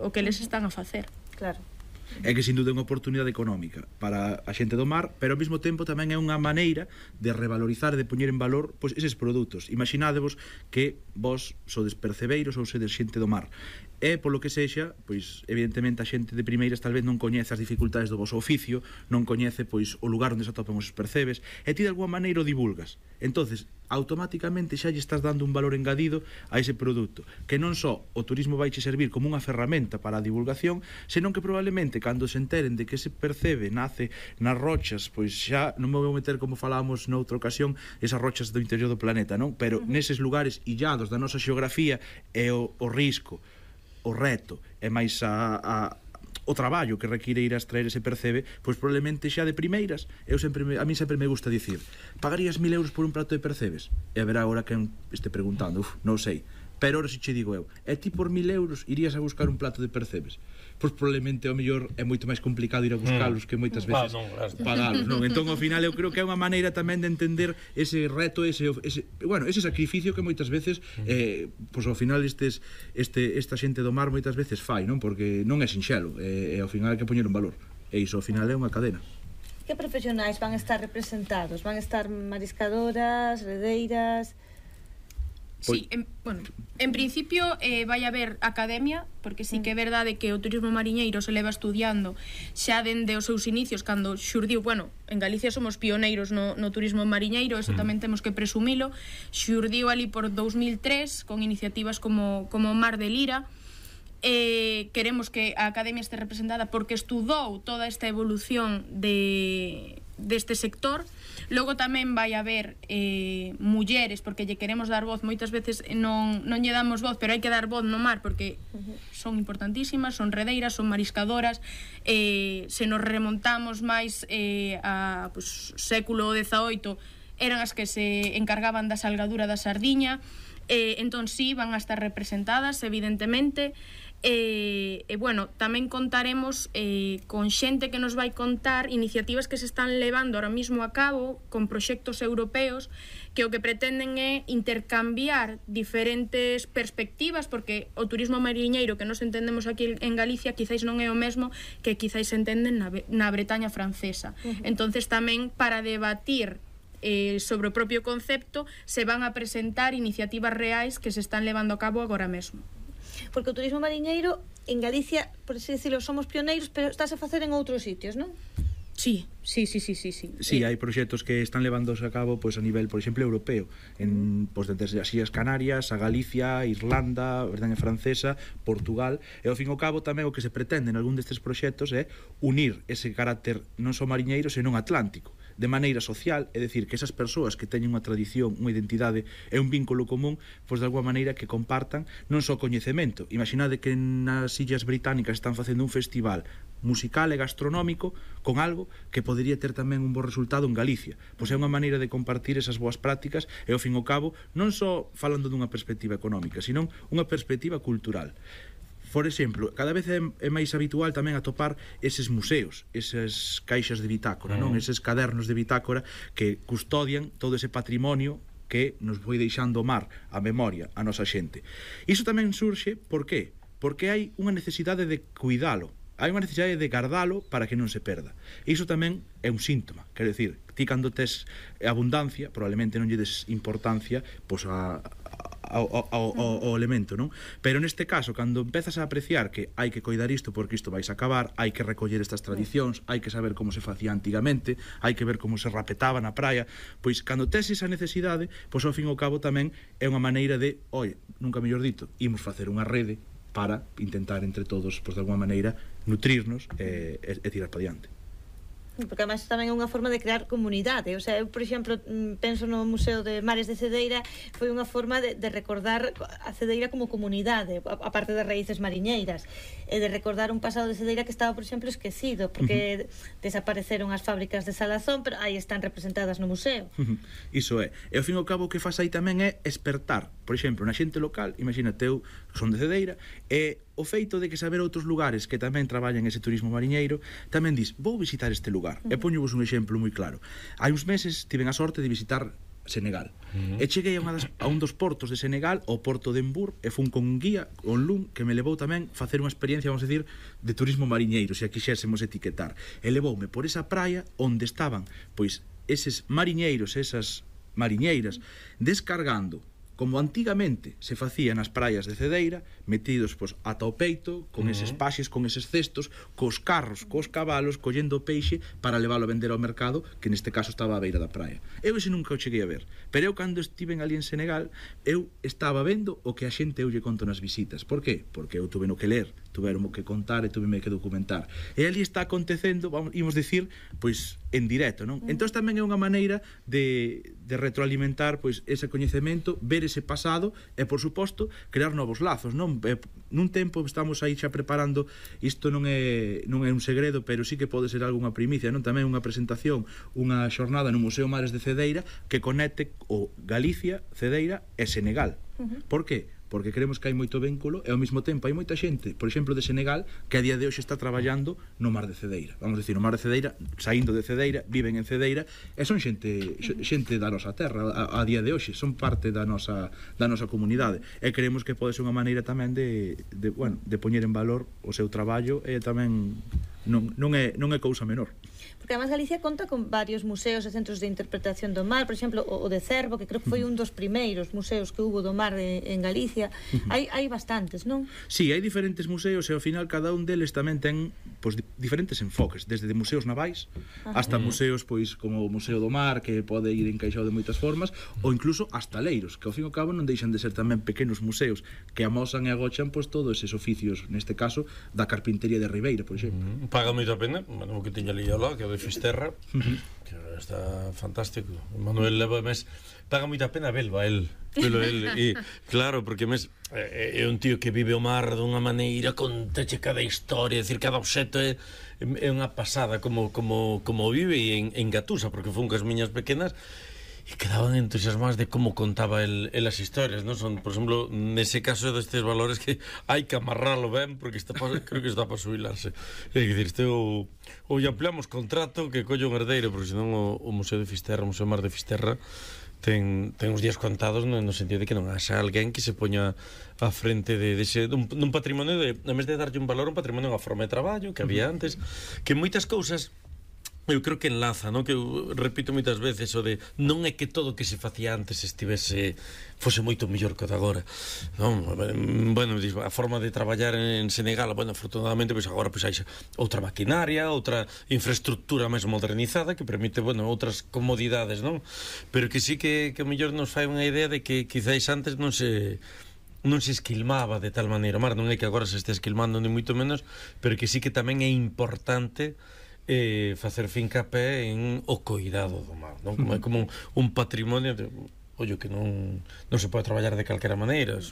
o que eles están a facer. Claro. É que sin dúda é unha oportunidade económica para a xente do mar, pero ao mesmo tempo tamén é unha maneira de revalorizar e de poñer en valor eses produtos. Imaginádevos que vos sodes percebeiros ou sedes xente do mar, e polo que sexa, pois evidentemente a xente de primeiras tal vez non coñece as dificultades do vosso oficio, non coñece pois o lugar onde se atopan os percebes, e ti de alguma maneira o divulgas. Entonces, automáticamente xa lle estás dando un valor engadido a ese produto, que non só o turismo vai che servir como unha ferramenta para a divulgación, senón que probablemente cando se enteren de que ese percebe nace nas rochas, pois xa non me vou meter, como falábamos noutra ocasión, esas rochas do interior do planeta, non? Pero neses lugares illados da nosa xeografía é o risco, o reto, e máis o traballo que require ir a extraer ese percebe, pois probablemente xa de primeiras, a mí sempre me gusta dicir, pagarías 1000 euros por un prato de percebes? E haberá agora quen este preguntando, non sei, pero ahora si che digo eu, e ti por 1000 euros irías a buscar un plato de percebes? Pois probablemente ao mellor é moito máis complicado ir a buscalos que moitas veces pagalos, non? Entón ao final eu creo que é unha maneira tamén de entender ese reto, ese sacrificio que moitas veces pois ao final esta xente do mar moitas veces fai, non? Porque non é sinxelo, e ao final hai que poñer un valor, e iso ao final é unha cadena. Que profesionais van a estar representados? Van a estar mariscadoras, redeiras? Sí, en principio vai haber academia, porque sí que é verdade que o turismo mariñeiro se leva estudiando xa dende os seus inicios, cando xurdiu, en Galicia somos pioneiros no turismo mariñeiro, eso tamén temos que presumilo, xurdiu ali por 2003 con iniciativas como Mar de Lira. Queremos que a academia este representada porque estudou toda esta evolución deste sector. Logo tamén vai haber mulleres, porque lle queremos dar voz, moitas veces non lle damos voz, pero hai que dar voz no mar, porque son importantísimas, son redeiras, son mariscadoras. Se nos remontamos máis a século XVIII, eran as que se encargaban da salgadura da sardiña. Entón sí, van a estar representadas, evidentemente. Tamén contaremos con xente que nos vai contar iniciativas que se están levando ahora mismo a cabo con proxectos europeos que o que pretenden é intercambiar diferentes perspectivas, porque o turismo mariñeiro que nos entendemos aquí en Galicia quizáis non é o mesmo que quizáis se entenden na Bretaña francesa. Entonces tamén para debatir sobre o propio concepto se van a presentar iniciativas reais que se están levando a cabo agora mesmo. Porque o turismo mariñeiro en Galicia, por así decirlo, somos pioneiros, pero estás a facer en outros sitios, non? Sí. Sí, hai proxectos que están levándose a cabo a nivel, por exemplo, europeo, desde as Illas Canarias, a Galicia, Irlanda, Bretaña francesa, Portugal, e ao fin e ao cabo tamén o que se pretende en algún destes proxectos é unir ese carácter non só mariñeiro, senón atlántico, de maneira social, é dicir, que esas persoas que teñen unha tradición, unha identidade e un vínculo común, pois de alguma maneira que compartan non só coñecemento. Imaginade que nas Illas Británicas están facendo un festival musical e gastronómico con algo que podería ter tamén un bo resultado en Galicia. Pois é unha maneira de compartir esas boas prácticas e ao fin e ao cabo non só falando dunha perspectiva económica, senón unha perspectiva cultural. Por exemplo, cada vez é máis habitual tamén atopar eses museos, esas caixas de bitácora, non? Eses cadernos de bitácora que custodian todo ese patrimonio que nos foi deixando o mar, a memoria, a nosa xente. Iso tamén surxe, por qué? Porque hai unha necesidade de cuidalo, hai unha necesidade de guardalo para que non se perda. Iso tamén é un síntoma, quero dicir, ti cando tes abundancia, probablemente non lle des importancia pois a ao elemento, non? Pero neste caso, cando empezas a apreciar que hai que coidar isto porque isto vais a acabar, hai que recoller estas tradicións, hai que saber como se facía antigamente, hai que ver como se rapetaba na praia, pois cando tes esa necesidade, pois ao fin e ao cabo tamén é unha maneira de, oi, nunca mellor dito, imos facer unha rede para intentar entre todos, pois de alguma maneira, nutrirnos e tirar para diante. Porque además tamén é unha forma de crear comunidade. O sea, eu, por exemplo, penso no Museo de Mares de Cedeira, foi unha forma de recordar a Cedeira como comunidade, a parte das raíces mariñeiras, e de recordar un pasado de Cedeira que estaba, por exemplo, esquecido, porque desapareceron as fábricas de Salazón, pero aí están representadas no museo. Iso é. E ao fin e ao cabo o que faz aí tamén é espertar, por exemplo, na xente local, imagínate, eu son de Cedeira, e o feito de que saber outros lugares que tamén traballan ese turismo mariñeiro, tamén dis, vou visitar este lugar. E poñovos un exemplo moi claro. Hai uns meses tiven a sorte de visitar Senegal. E cheguei a un dos portos de Senegal, o porto de Embur, e fun con un guía, con Lun, que me levou tamén a facer unha experiencia, vamos a decir, de turismo mariñeiro, se a quixésemos etiquetar. E levoume por esa praia onde estaban, pois, eses mariñeiros, esas mariñeiras, descargando como antigamente se facía nas praias de Cedeira, metidos pois, ata o peito, con eses paxes, con eses cestos, cos carros, cos cabalos, collendo o peixe para leválo a vender ao mercado, que neste caso estaba á beira da praia. Eu ese nunca o cheguei a ver, pero eu cando estiven ali en Senegal, eu estaba vendo o que a xente eu lle conto nas visitas. Por qué? Porque eu tuve no que ler, tuveron que contar e tuve que documentar. E ali está acontecendo, imos dicir, pois, en directo, non? Entón tamén é unha maneira de retroalimentar pois ese coñecemento, ver ese pasado e, por suposto, crear novos lazos, non? Nun tempo estamos aí xa preparando, isto non é un segredo, pero sí que pode ser algunha primicia, non? Tamén unha presentación, unha xornada no Museo Mares de Cedeira que conecte o Galicia, Cedeira e Senegal. Por qué? Porque creemos que hai moito vínculo e ao mesmo tempo hai moita xente, por exemplo, de Senegal, que a día de hoxe está traballando no Mar de Cedeira. Vamos a decir, no Mar de Cedeira, saindo de Cedeira, viven en Cedeira e son xente da nosa terra a día de hoxe, son parte da nosa comunidade. E creemos que pode ser unha maneira tamén de poñer en valor o seu traballo e tamén non é cousa menor. Porque además Galicia conta con varios museos e centros de interpretación do mar, por exemplo, o de Cervo, que creo que foi un dos primeiros museos que hubo do mar en Galicia. Hai bastantes, non? Sí, hai diferentes museos e ao final cada un deles tamén ten pois, diferentes enfoques, desde de museos navais hasta museos pois como o Museo do Mar, que pode ir encaixado de moitas formas, ou incluso hasta leiros, que ao fin e ao cabo non deixan de ser tamén pequenos museos que amosan e agochan pois todos eses oficios, neste caso da carpintería de Ribeira, por exemplo. Paga moito a pena, o que tiña liado lá, que é o de Fisterra, que está fantástico. Manuel leva mes, paga moita pena velo el, e claro, porque mes é un tío que vive o mar dunha maneira, conteche cada historia, decir, cada obxeto é unha pasada como vive en Gatusa, porque fun cas miñas pequenas e quedaban entusiasmadas de como contaba el as historias, non? Son, por exemplo, nese caso destes valores que hai que amarralo ben porque creo que está para subilarse. É dicir, ou ampliamos contrato que colle un herdeiro, porque senón o Museo de Fisterra, o Museo Mar de Fisterra ten uns días contados no sentido de que non haxa alguén que se poña á frente dun patrimonio en vez de darlle un valor, un patrimonio unha forma de traballo que había antes, que moitas cousas eu creo que enlaza, non? Que eu repito moitas veces o de non é que todo o que se facía antes fose moito mellor que o de agora, non? Bueno, a forma de traballar en Senegal, bueno, afortunadamente, pois agora pois hai outra maquinaria, outra infraestructura máis modernizada que permite, bueno, outras comodidades, non? Pero que sí que mellor nos fai unha idea de que quizáis antes non se esquilmaba de tal maneira. Mar, non é que agora se este esquilmando ni moito menos, pero que sí que tamén é importante facer fincapé en o coidado do mar, non? Como un patrimonio de, ollo, que non se pode traballar de calquera maneira,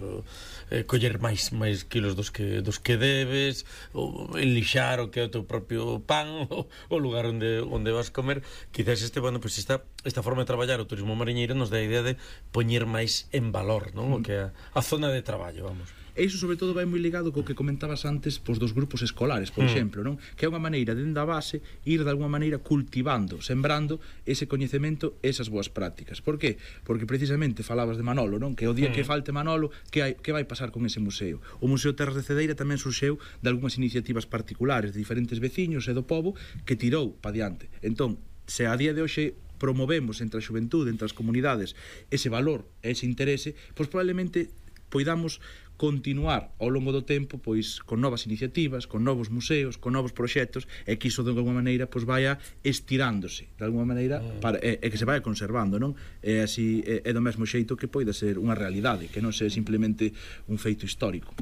coller máis kilos dos que debes, ou enlixar o que é o teu propio pan, o lugar onde vas comer. Quizás pues esta forma de traballar o turismo mariñeiro nos dá a idea de poñer máis en valor, non? O que é a zona de traballo, vamos. E iso sobre todo vai moi ligado co que comentabas antes pois, dos grupos escolares, por exemplo, non? Que é unha maneira, dende a base, ir de alguma maneira cultivando, sembrando ese coñecemento, esas boas prácticas. Por qué? Porque precisamente falabas de Manolo, non? Que o día que falte Manolo, que vai pasar con ese museo? O Museo Terras de Cedeira tamén surxeu de algunhas iniciativas particulares de diferentes veciños e do pobo que tirou pa diante. Entón, se a día de hoxe, promovemos entre a xuventude, entre as comunidades, ese valor, ese interese, pois probablemente poidamos continuar ao longo do tempo pois con novas iniciativas, con novos museos, con novos proxectos, e que iso de alguma maneira pois vaya estirándose de alguma maneira para, e que se vaya conservando, non? E así é do mesmo xeito que poida ser unha realidade, que non sea simplemente un feito histórico.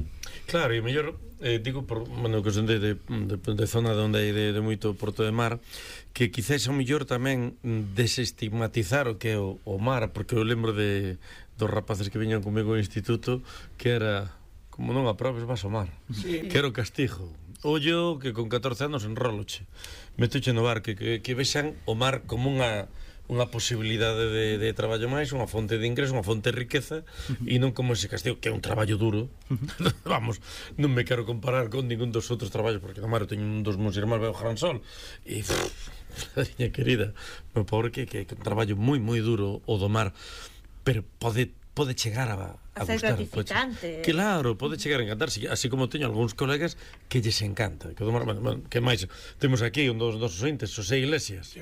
Claro, e mellor digo por, bueno, que son de zona onde hai de moito Porto de Mar, que quizás ao mellor tamén desestigmatizar o que é o mar, porque eu lembro dos rapaces que viñan comigo ao instituto que era, como non aprobes vas ao mar, que era o castigo. Ollo que con 14 anos enroloche, metoche no bar, que vexan o mar como unha posibilidade de traballo máis, unha fonte de ingreso, unha fonte de riqueza, e non como ese castigo, que é un traballo duro. Vamos, non me quero comparar con ningún dos outros traballos, porque no mar eu teño un dos meus irmáns veo Gran Sol, e niña querida, meu pobre, que é un traballo moi duro o do mar, pero pode chegar a ser gustar, gratificante. Claro, pode chegar a encantar, así como teño algúns colegas que lles encanta. Que que máis temos aquí un dos nosos ointes, Xosé Iglesias.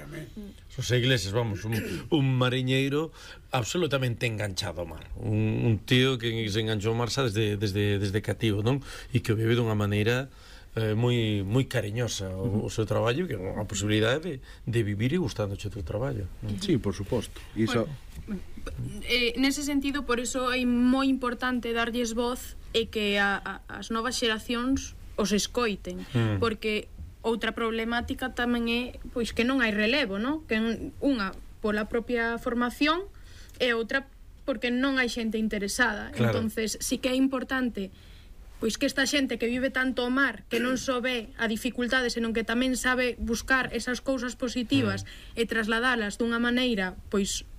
Xosé Iglesias, vamos, un mariñeiro absolutamente enganchado ao mar. Un tío que se enganchou ao mar xa desde cativo, non? E que o vive dunha maneira moi cariñosa o seu traballo, que é unha posibilidade de vivir e gustándoche o teu traballo. Sí, por suposto. Iso... Nese sentido, por iso é moi importante darlles voz e que as novas xeracións os escoiten, porque outra problemática tamén é pois que non hai relevo, non? Que unha pola propia formación e outra porque non hai xente interesada. Claro. Entonces, sí que é importante pois que esta xente que vive tanto o mar, que non só ve a dificultade, senón que tamén sabe buscar esas cousas positivas e trasladalas dunha maneira pois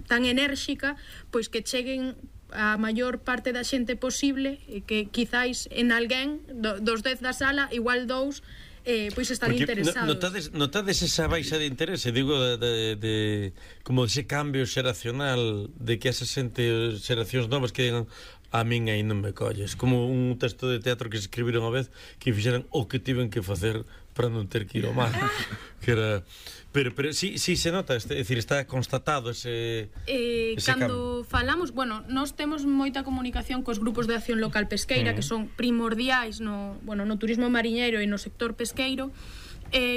tan enérxica, pois que cheguen a maior parte da xente posible, e que quizáis en alguén dos 10 da sala, igual 2 pois están interesados. Notades esa baixa de interese, digo, como ese cambio xeracional, de que esa xente, xeracións novas que digan a min aí non me colles, como un texto de teatro que se escribiron a vez que fixeran o que tiven que facer para non ter que ir ao mar, que era... Pero sí se nota, é dicir, está constatado ese cando falamos, bueno, nós temos moita comunicación cos grupos de acción local pesqueira, que son primordiais no turismo mariñeiro e no sector pesqueiro.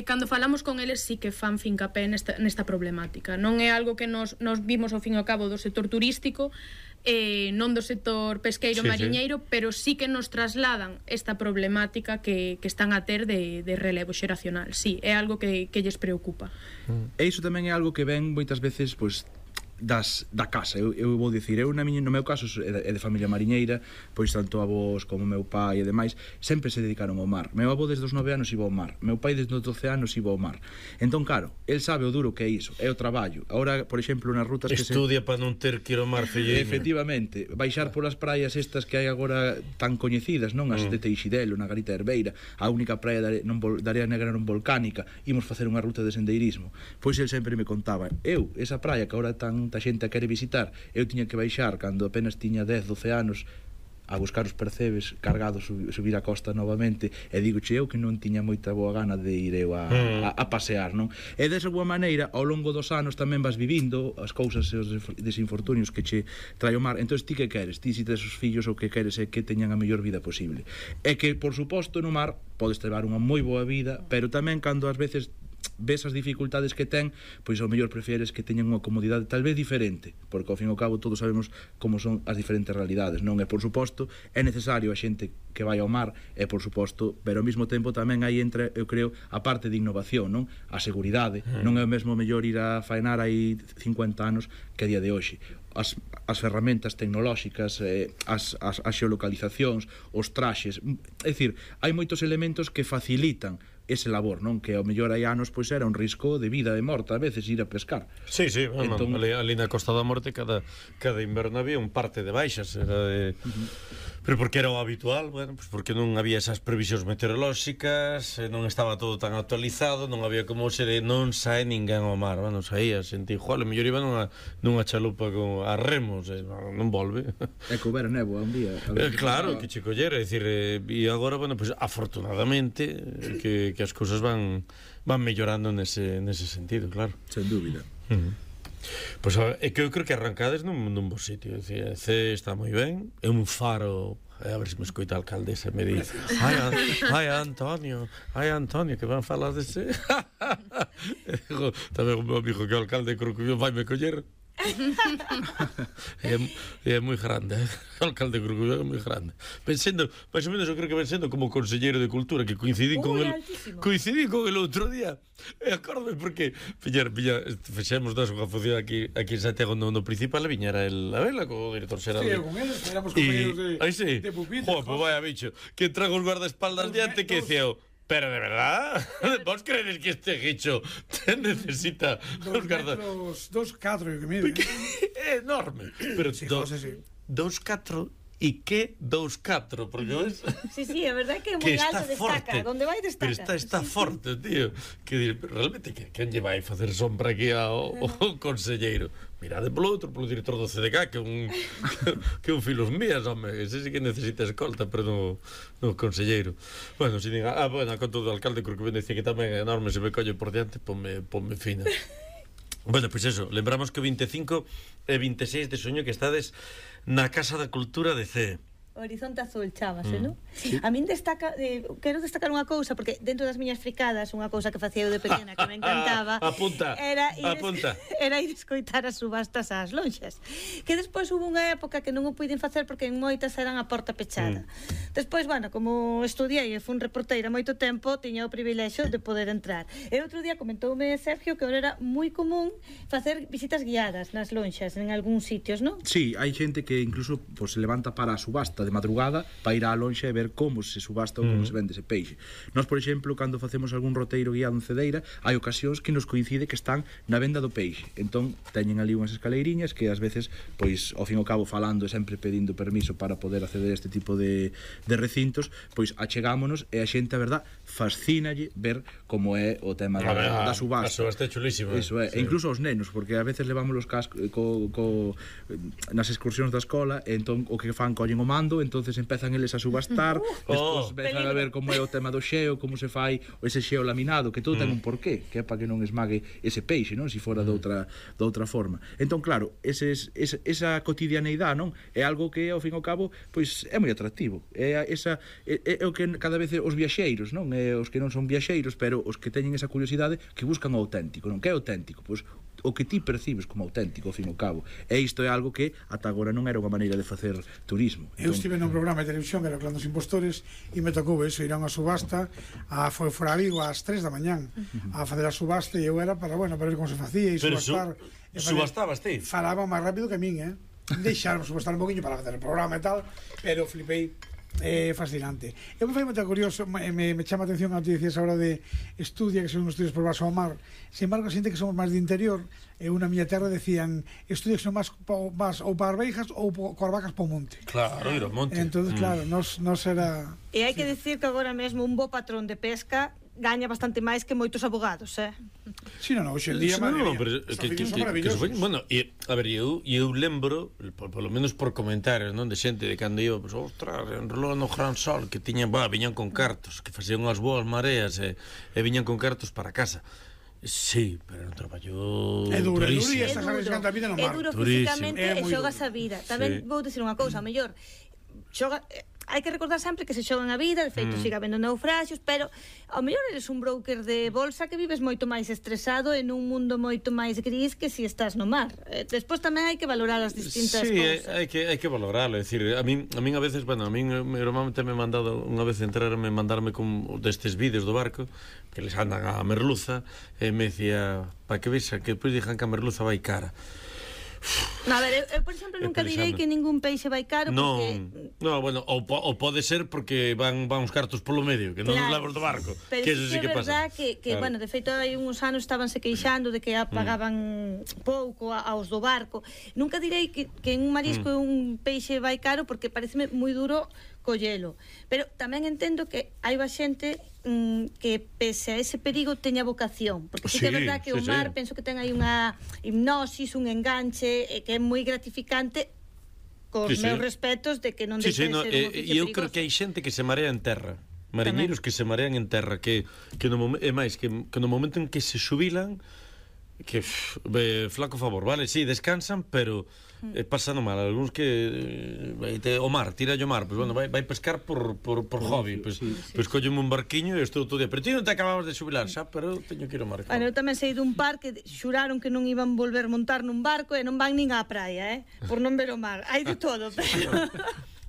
Cando falamos con eles sí que fan fincapé nesta problemática. Non é algo que nos vimos ao fin e ao cabo do sector turístico, non do sector pesqueiro mariñeiro, pero sí que nos trasladan esta problemática que están a ter de relevo xeracional. Sí, é algo que lles preocupa. E iso tamén é algo que ven moitas veces pois da casa. Eu vou dicir, no meu caso é de familia mariñeira, pois tanto avós como meu pai e demais sempre se dedicaron ao mar. Meu avó desde os 9 anos iba ao mar, meu pai desde os 12 anos iba ao mar. Entón, claro, el sabe o duro que é iso, é o traballo. Agora, por exemplo, nas rutas que estudia para non ter que ir ao mar, filleño. Efectivamente, baixar polas praias estas que hai agora tan coñecidas, non? As de Teixidelo, na Garita Herbeira, a única praia da Area Negra non volcánica, imos facer unha ruta de sendeirismo. Pois el sempre me contaba, esa praia que agora tanta xente a quere visitar, eu tiña que baixar cando apenas tiña 10, 12 anos a buscar os percebes cargados, subir a costa novamente, e digoche eu que non tiña moita boa gana de ir eu a pasear, non? E desa boa maneira, ao longo dos anos tamén vas vivindo as cousas e os desinfortunios que che trae o mar. Entón, ti que queres? Ti, se tes os fillos, o que queres é que teñan a mellor vida posible. E que, por suposto, no mar podes levar unha moi boa vida, pero tamén cando ás veces ves as dificultades que ten, pois ao mellor prefieres que teñan unha comodidade tal vez diferente, porque ao fin e ao cabo todos sabemos como son as diferentes realidades, non? E por suposto é necesario a xente que vai ao mar, e por suposto, pero ao mesmo tempo tamén aí entra, eu creo, a parte de innovación, non? A seguridade, non é o mesmo mellor ir a faenar aí 50 anos que a día de hoxe. As ferramentas tecnolóxicas, as xeolocalizacións, os traxes, é dicir, hai moitos elementos que facilitan ese labor, non? Que ao mellor hai anos pois era un risco de vida e morte a veces ir a pescar. Sí, entón, ali na Costa da Morte cada inverno había un parte de baixas, era de... Pero porque era o habitual, bueno, pues porque non había esas previsións meteorolóxicas, non estaba todo tan actualizado, non había como se de non sae ninguén ao mar, bueno, saía, sentí, joder, mellor iba nunha chalupa con a remos, non volve. É que houbera néboa un día. Claro, que che collera, é dicir, e agora, bueno, pues afortunadamente que as cousas van mellorando nese sentido, claro. Sen dúbida. Pois é que eu creo que arrancades nun bo sitio. Decía, C está moi ben, é un faro. A ver se me escoita a alcaldesa e me di ai Antonio, que van falar dese. Tamén o meu amigo que é o alcalde creo que vai me coller. É moi grande, o alcalde de Corcubión é moi grande. Pensando, máis ou menos, eu creo que ven sendo como conselleiro de Cultura, que coincidí con el outro día. E acórdome porque fixemos unha función aquí en Santiago no principal, e viñera el a vela co director xeral. Sí, con eles, éramos compañeros de pupitre. Pues vaya bicho, que trago os guardaespaldas diante que decía pero de verdad, vos crees que este guicho necesita 2 metros, 2,4 que mide. É enorme. Pero 2,4 e que 2,4, porque ves? Sí, a verdade que é moi alto, destaca, onde vai destaca. Pero está forte, tío. Que realmente quen lle vai facer sombra aquí ao conselleiro? Mirade polo director do CDK, que un filos mías, home, ese sí que necesita escolta, pero no conselleiro. Bueno, se diga, bueno, con todo o alcalde, creo que ben decía que tamén é enorme, se me colle por diante, ponme fina. Bueno, pois eso, lembramos que o 25 e 26 de xuño que estades na Casa da Cultura de C. Horizonte Azul, chámase, non? Sí. A min quero destacar unha cousa, porque dentro das miñas fricadas, unha cousa que facía eu de pequena que me encantaba era ir escoitar as subastas ás lonxas, que despois hubo unha época que non o puiden facer porque en moitas eran a porta pechada. Despois, bueno, como estudiei e fun reporteira moito tempo, tiña o privilexio de poder entrar. E outro día comentoume Sergio que ahora era moi común facer visitas guiadas nas lonxas en algúns sitios, non? Sí, hai xente que incluso se levanta para a subasta de madrugada para ir á lonxa e ver como se subasta ou como se vende ese peixe. Nós, por exemplo, cando facemos algún roteiro guiado en Cedeira, hai ocasións que nos coincide que están na venda do peixe. Entón, teñen ali unhas escaleiriñas que ás veces, pois, ao fin e ao cabo falando e sempre pedindo permiso para poder acceder a este tipo de recintos, pois achegámonos e a xente, a verdad, fascínalle ver como é o tema da subasta. A subasta é chulísima. Iso é, e incluso aos nenos, porque a veces levamos os cascos nas excursións da escola, e entón o que fan collen o mando, entonces empezan eles a subastar, despois empezan a ver como é o tema do xeo, como se fai ese xeo laminado, que todo ten un porqué, que é para que non esmague ese peixe, non? Se fora de outra forma. Entón, claro, esa cotidianeidade, non? É algo que, ao fin e ao cabo, pois é moi atractivo. É o que cada vez os viaxeiros, non? Os que non son viaxeiros, pero os que teñen esa curiosidade, que buscan o auténtico, non? Que é auténtico? Pois o que ti percibes como auténtico, ao fin e ao cabo. E isto é algo que ata agora non era unha maneira de facer turismo. Eu estive nun programa de televisión que era Clan dos Impostores e me tocou eso, ir a unha subasta foi fora a Vigo ás 3 da mañán a facer a subasta e eu era para ver como se facía e subastar. Subastabas ti? Falaba máis rápido que a min, deixaron subastar un poquinho para facer o programa e tal, pero flipei. É fascinante. Eu me fai moita curioso, me chama a atención a ti dicías ahora de estudia, que son estudios por baixo ao mar. Sin embargo, a xente que somos máis de interior, na miña terra decían estudios que son máis ou para Beijas ou coas vacas para o monte. Claro, ir ao monte. Entonces, claro, nos era... E hai que decir que agora mesmo un bo patrón de pesca gaña bastante máis que moitos abogados, Si, non, hoxe en día, madre mía, bueno, a ver, eu lembro, polo menos por comentarios, non, de xente de cando iba, pues, ostras, enrolou no Gran Sol, que viñan con cartos, que facían unhas boas mareas e viñan con cartos para casa. Sí, pero non traballou durísimo. É duro físicamente e xogas a vida. Tamén vou dicir unha cousa, a mellor hai que recordar sempre que se xogan a vida, de feito siga habendo naufraxios, pero ao mellor eres un broker de bolsa que vives moito máis estresado en un mundo moito máis gris que si estás no mar. Despois tamén hai que valorar as distintas cousas. Sí, hai que valorarlo, é dicir, a min a veces, bueno, a min normalmente me mandado unha vez mandarme con destes vídeos do barco que les andan a merluza e me decía, para que vexa que depois dixan que a merluza vai cara. A ver, eu por exemplo nunca direi que ningún peixe vai caro porque... Non, bueno, ou pode ser porque van uns cartos polo medio, que non nos levamos do barco. Pero que eso sí que pasa. Que bueno, de feito hai uns anos estabanse queixando de que pagaban pouco aos do barco. Nunca direi que en un marisco un peixe vai caro porque pareceme moi duro collelo. Pero tamén entendo que hai xente que pese a ese perigo teña vocación, porque sí que é verdad que o mar penso que ten aí unha hipnosis, un enganche que é moi gratificante, cos meus respetos de que non deixe de ser un oficio perigoso. E eu creo que hai xente que se marea en terra, mariñeiros que se marean en terra, que no momento en que se xubilan que flaco favor, vale, sí, descansan, pero pasando mal, algúns que o mar, tira o mar, pues bueno, vai pescar por hobby, pues colleme un barquiño e estou todo día, pero ti non te acababas de xubilar, xa, pero teño que ir ao mar. Eu tamén sei dun par que xuraron que non iban volver montar nun barco e non van nin á praia, por non ver o mar, hai de todo, pero...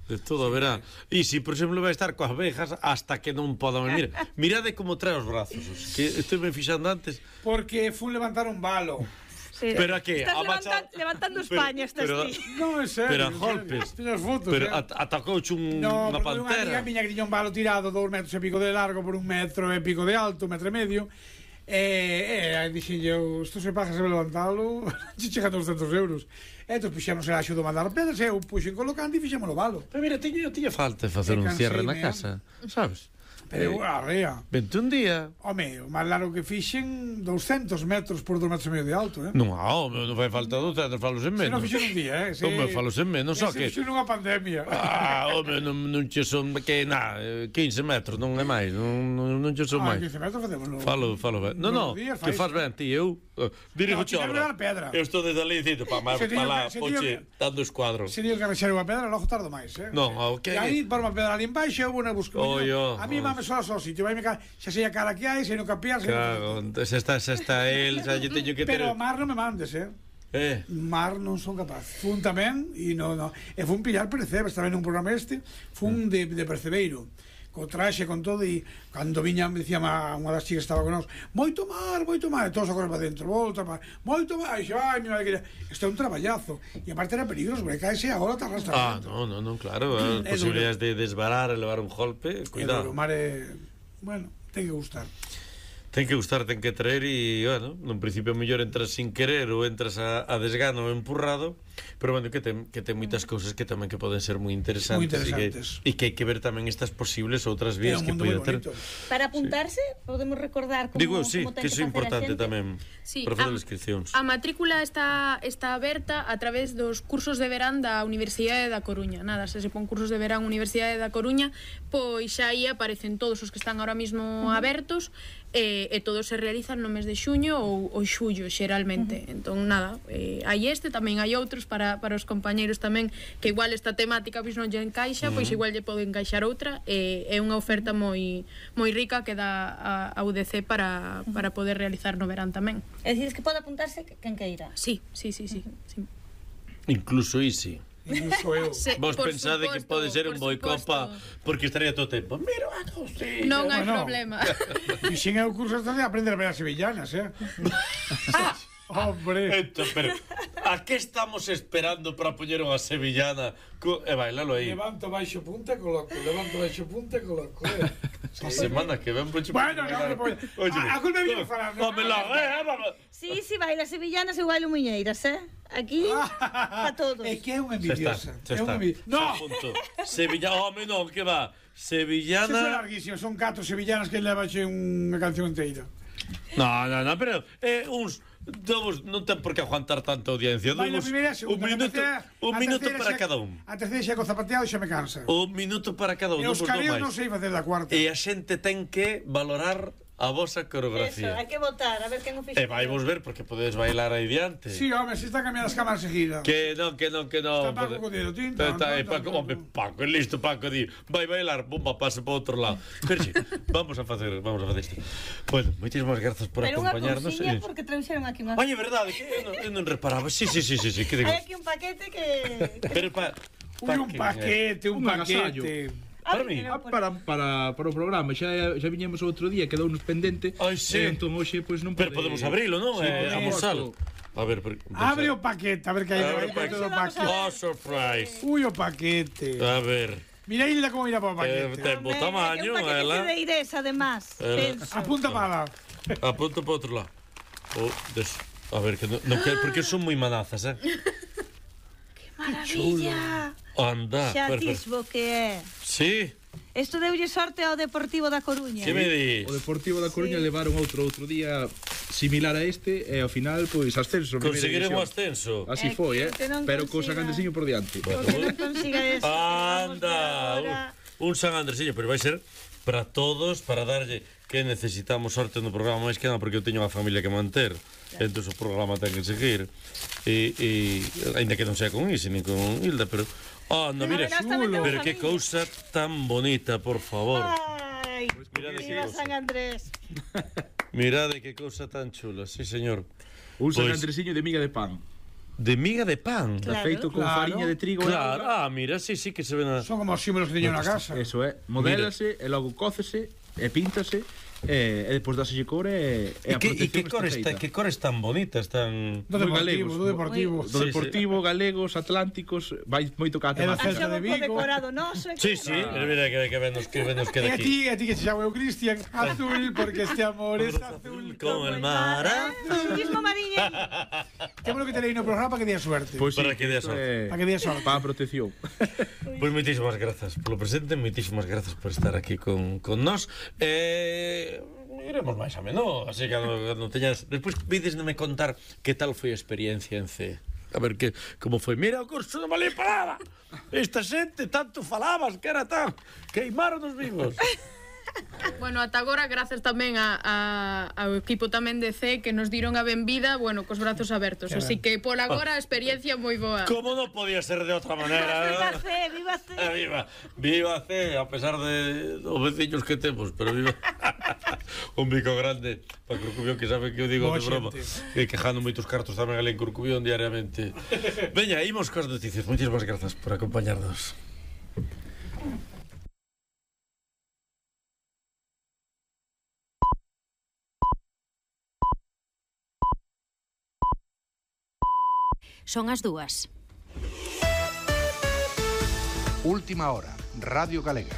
De todo, verá. E si, por exemplo, vai estar coas abejas hasta que non podan venir. Mirade como trae os brazos. Que estou me fixando antes. Porque fun levantar un balo. Sí. Pero a que? Estás levantando España, estás ti. No, en serio. Pero a golpes. Tienes fotos, pero atacouche unha pantera. Unha amiga que tiña un balo tirado 2 metros e pico de largo por 1 metro e pico de alto, 1 metro e medio. Dixen eu, isto se pasa se levantalo, se chega a 200 euros. Entón puxemos el axo do mandar pedras e eu puxen colocando e fixemos o balo. Pero mira, tiña falta facer un cierre na casa, sabes? Pero arrea. Vente un día. Home, o máis largo que fixen 200 metros por 2 metros e medio de alto, Non, non vai falta 200, falos en menos. Se non fixen un día, Home, falos en menos, só que... Se fixen unha pandemia. Home, non che son, que nada, 15 metros, non é máis, non che son máis. 15 metros facémoslo. Falo ben. Non, que fas ben, ti, eu dirijo chorra. Eu estou desde ali dicindo, pa lá, poche, dando escuadro. Se digo que arrexar unha pedra, logo tardo máis, Non, ok. E aí, por unha pedra ali en baixo, eu vou na busco. A mí me sola ao sitio, vai me xa sei a cara que hai, sei no capiar, sei no... Se está el, xa lle teño que ter... Pero mar non me mandes, Mar non son capaz. Fun tamén, e fun pillar percebes tamén nun programa fun de percebeiro, co traxe, con todo, e cando viña, me dicía unha das chicas que estaba con nós, moito mar, e todos a correr para dentro, volta, moito mar, e ai, mi madre, isto é un traballazo, e aparte era peligroso, porque caese agora te arrastra. Non, claro, as posibilidades de desbarar e levar un golpe, cuidado. O mar é... Bueno, ten que gustar. Ten que gustar, ten que traer e, bueno, nun principio mellor entras sin querer ou entras a desgano ou empurrado, pero, bueno, que ten moitas cousas que tamén que poden ser moi interesantes e que hai que ver tamén estas posibles outras vías que poden ter. Para apuntarse, podemos recordar como ten que ser importante tamén para fazer as inscripcións. A matrícula está aberta a través dos cursos de verán da Universidade da Coruña. Nada, se pon cursos de verán Universidade da Coruña, pois xa aí aparecen todos os que están ahora mismo abertos, e todos se realizan no mes de xuño ou xullo, xeralmente. Entón, nada, hai tamén hai outros para os compañeiros tamén, que igual esta temática pois non lle encaixa, pois igual lle pode encaixar outra. É unha oferta moi rica que dá a UDC para poder realizar no verán tamén. É dicir, que pode apuntarse quen queira. Sí. Incluso Isi. Incluso eu. Vos pensade que pode ser un boicopa porque estaría todo o tempo. Mira, non hai problema. Fixen eu curso de aprender a ver as sevillanas, Hombre. Pero a que estamos esperando para poñer unha sevillana e bailalo aí? Levanto baixo punta, coloco. A semana que ven poño. Bueno, a culpa é bien falar. Sí, baila sevillanas e bailo muñeiras, Aquí, para todos. É que é unha envidiosa. No! Sevillana, home, non, que va. Sevillana... Se son larguísimos, son 4 sevillanas que levaxe unha canción inteira. No, pero uns... non ten por que aguantar tanta audiencia. Un minuto para cada un. A terceira xa co zapateado xa me cansa. Un minuto para cada un. E os careos non sei facer da cuarta. E a xente ten que valorar a vosa coreografía. Eso, hai que votar, a ver quen o fixo. E vai vos ver, porque podedes bailar aí diante. Sí, home, se está cambiando as cámaras seguidas. Que non. Está Paco con dedo tinta. Paco, listo, Paco, di, vai bailar, pumba, pase para outro lado. Pero sí, vamos a facer isto. Bueno, moitísimas grazas por acompañarnos. Pero unha cousiña, porque trouxeron aquí unha... Oye, verdade, que eu non reparaba. Sí, que digo. Hai aquí un paquete que... Pero un paquete. Para mí, para o programa xa viñemos outro día, quedounos pendente. Entón hoxe pois non pode. Pero podemos abrilo, non? Amosalo. A ver, abre o paquete, a ver que hai dentro do paquete. Oh, surprise. O paquete. A ver. Mira Hilda como mira para o paquete. Ten bo tamaño, ela. Un paquete de Irés, además. Apunta para lá. Apunta para outro lado. A ver, que non quero, porque son moi manazas, Que maravilla. Anda, xa tisbo que é. Sí. Isto deulle sorte ao Deportivo da Coruña. Que me dis? O Deportivo da Coruña levaron outro día similar a este e ao final, pois, ascenso. Conseguiron o ascenso. Así foi, pero co San Andresiño por diante. Porque non consiga eso. Anda, un San Andresiño, pero vai ser para todos, para darlle que necesitamos sorte no programa, máis que nada porque eu teño unha familia que manter, entón o programa ten que seguir, e ainda que non sea con Isi nin con Hilda, pero mira, pero que cousa tan bonita, por favor. Ai, viva San Andrés. Mirade que cousa tan chula, sí señor. Un San Andresiño de miga de pan. De miga de pan? Claro, feito con fariña de trigo. Claro, mira, sí que se ven. Son como os símbolos que teño na casa. Eso é, modélase, e logo cócese, e píntase, e depois dáselle cor e a protección que cores tan bonitas, tan... Do Deportivo. Do Deportivo, galegos, atlánticos, vai moito cá a temática. Celta de Vigo. Decorado noso. Sí, mira que venos queda aquí. E a ti que se chama eu Cristian, azul, porque este amor es azul como el mar azul. Mismo mariña. Temos que tener no programa para que dé suerte. Para que dé sorte. Para que dé sorte. Para a protección. Pois moitísimas grazas polo presente, moitísimas grazas por estar aquí con nós. Iremos máis a menos, así que non teñas... Despois vídesme contar que tal foi a experiencia en C. A ver como foi. Mira, o curso non valía para nada. Esta xente tanto falabas que era tan... Queimaron os vivos. Bueno, ata agora, grazas tamén ao equipo tamén de C que nos diron a benvida, bueno, cos brazos abertos. Así que, por agora, a experiencia moi boa. Como non podía ser de outra maneira? Viva C, viva C. Viva C, a pesar de os veciños que temos, pero viva... Un bico grande para Corcubión, que sabe que eu digo de broma, e quejando moitos cartos tamén ali en Corcubión diariamente. Veña, imos coas noticias. Moitísimas grazas por acompañarnos. Son as 2. Última hora, Radio Galega.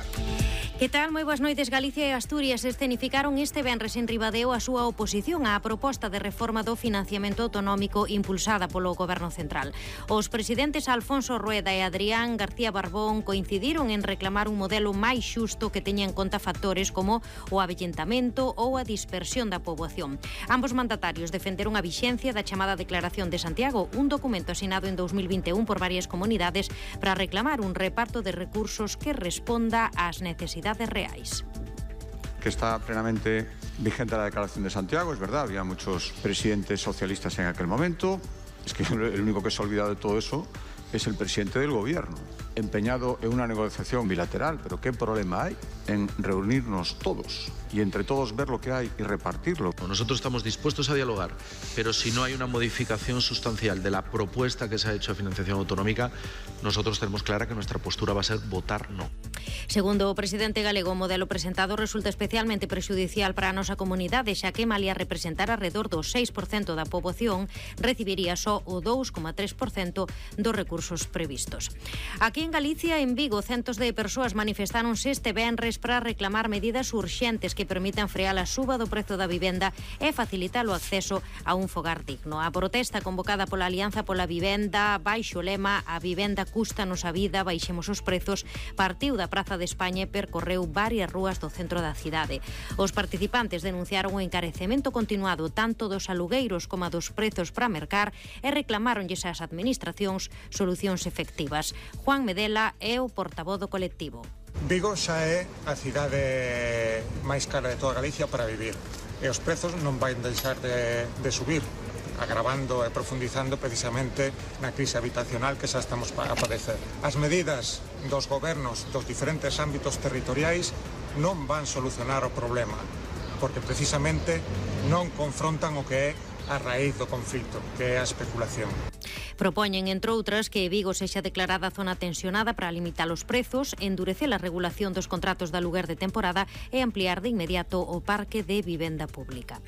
Que tal? Moi boas noites. Galicia e Asturias escenificaron este venres en Ribadeo a súa oposición á proposta de reforma do financiamento autonómico impulsada polo Goberno Central. Os presidentes Alfonso Rueda e Adrián García Barbón coincidiron en reclamar un modelo máis xusto que teña en conta factores como o avellentamento ou a dispersión da poboación. Ambos mandatarios defenderon a vixencia da chamada Declaración de Santiago, un documento asinado en 2021 por varias comunidades para reclamar un reparto de recursos que responda ás necesidades reais. Que está plenamente vigente la Declaración de Santiago, es verdad, había muchos presidentes socialistas en aquel momento, es que el único que se ha olvidado de todo eso es el presidente del gobierno, empeñado en una negociación bilateral, pero ¿qué problema hay en reunirnos todos y entre todos ver lo que hay y repartirlo? Nosotros estamos dispuestos a dialogar, pero si no hay una modificación sustancial de la propuesta que se ha hecho de financiación autonómica, nosotros tenemos clara que nuestra postura va a ser votar no. Segundo o presidente galego, o modelo presentado resulta especialmente prexudicial para a nosa comunidade, xa que malia representar alrededor do 6% da poboación, recibiría só o 2,3% dos recursos previstos. Aquí en Galicia, en Vigo, centos de persoas manifestáronse este venres para reclamar medidas urxentes que permitan frear a suba do prezo da vivenda e facilitar o acceso a un fogar digno. A protesta convocada pola Alianza pola Vivenda, baixo o lema "A vivenda cústanos a vida, baixemos os prezos", partiu da Praza de España e percorreu varias rúas do centro da cidade. Os participantes denunciaron o encarecemento continuado tanto dos alugueiros como dos prezos para mercar e reclamaronlles ás administracións solucións efectivas. Juan Medela é o portavoz do colectivo. Vigo xa é a cidade máis cara de toda Galicia para vivir e os prezos non van deixar de subir, agravando e profundizando precisamente na crise habitacional que xa estamos a padecer. As medidas dos gobernos dos diferentes ámbitos territoriais non van solucionar o problema, porque precisamente non confrontan o que é a raíz do conflito, que é a especulación. Propoñen, entre outras, que Vigo sexa declarada zona tensionada para limitar os prezos, endurecer a regulación dos contratos de aluguer de temporada e ampliar de inmediato o parque de vivenda pública.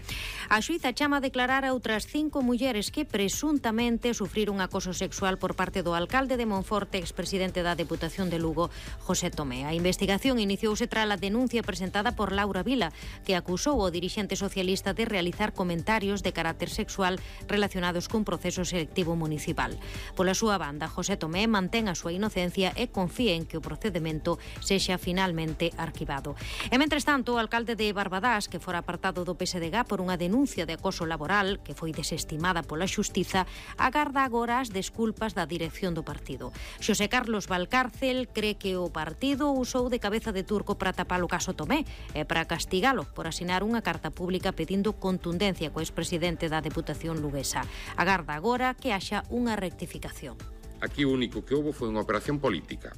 A xuíza chama a declarar a outras 5 mulleres que presuntamente sufriron acoso sexual por parte do alcalde de Monforte, expresidente da Deputación de Lugo, José Tomé. A investigación iniciouse tras a denuncia presentada por Laura Vila, que acusou o dirixente socialista de realizar comentarios de carácter sexual relacionados cun proceso selectivo municipal. municipal. Pola súa banda, José Tomé mantén a súa inocencia e confía en que o procedimento sexa finalmente arquivado. E, mentres tanto, o alcalde de Barbadás, que fora apartado do PSDG por unha denuncia de acoso laboral que foi desestimada pola Xustiza, agarda agora as desculpas da dirección do partido. Xosé Carlos Valcárcel cree que o partido usou de cabeza de turco para tapar o caso Tomé e para castigalo por asinar unha carta pública pedindo contundencia co expresidente da Deputación luguesa. Agarda agora que haxa unha rectificación. Aquí o único que houbo foi unha operación política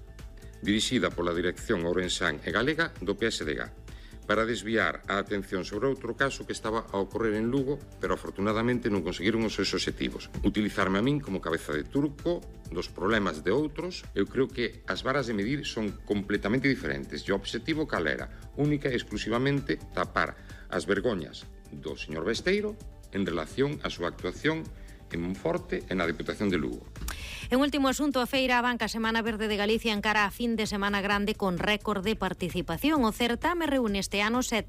dirixida pola dirección ourensán e galega do PSDG para desviar a atención sobre outro caso que estaba a ocorrer en Lugo, pero afortunadamente non conseguiron os seus obxectivos. Utilizarme a min como cabeza de turco dos problemas de outros. Eu creo que as varas de medir son completamente diferentes. E o obxectivo cal era? Única e exclusivamente tapar as vergoñas do señor Besteiro en relación á súa actuación en Monforte e na Deputación de Lugo. En último asunto, a Feira Abanca Semana Verde de Galicia encara a fin de semana grande con récord de participación. O certame reúne este ano 7